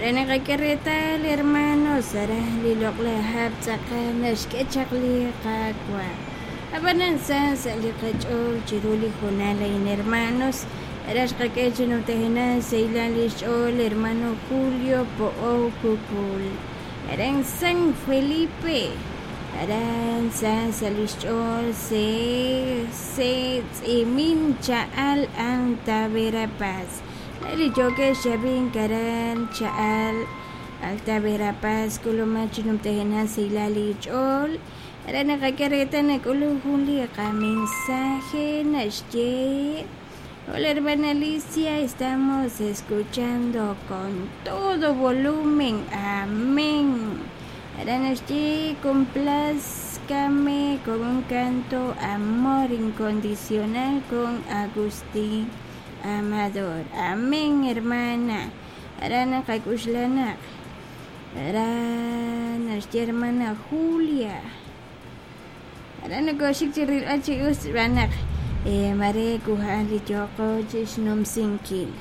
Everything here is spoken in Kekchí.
Aran naqak'e reetal hermanos, aran li loq'laj hab' tz'aqal naxk'e chaq li Qaawa'. Ab'anan sa sa' li qach'ool chiru li hoonal a'in hermanos, aran xqak'e chi numtajenaq xsahilal li xch'ool hermano Julio Po'ow Kukul, aran San Felipe, aran sa sa' li xch'ool se se Tz'imin Cha'al Alta Verapaz. Li yookex chi ab'ink aran Cha'al Alta Verapaz k'ulumaq chi numtajenaq xsahilal eech'ool. Aran naqak'e reetal nak'ulunk jun li qamensaje naxye, Hola hermana Alicia, estamos escuchando con todo volumen. Amén. Aran naxye, Complázcame con un canto Amor Incondicional con Agustín Amador. Amén, hermana. Aran naqak'uxla naq aran naxye hermana Julia. Aran nokooxik chi rilb'al chi us xb'aan naq mare kuha'an li yooqo chi xnumsinkil.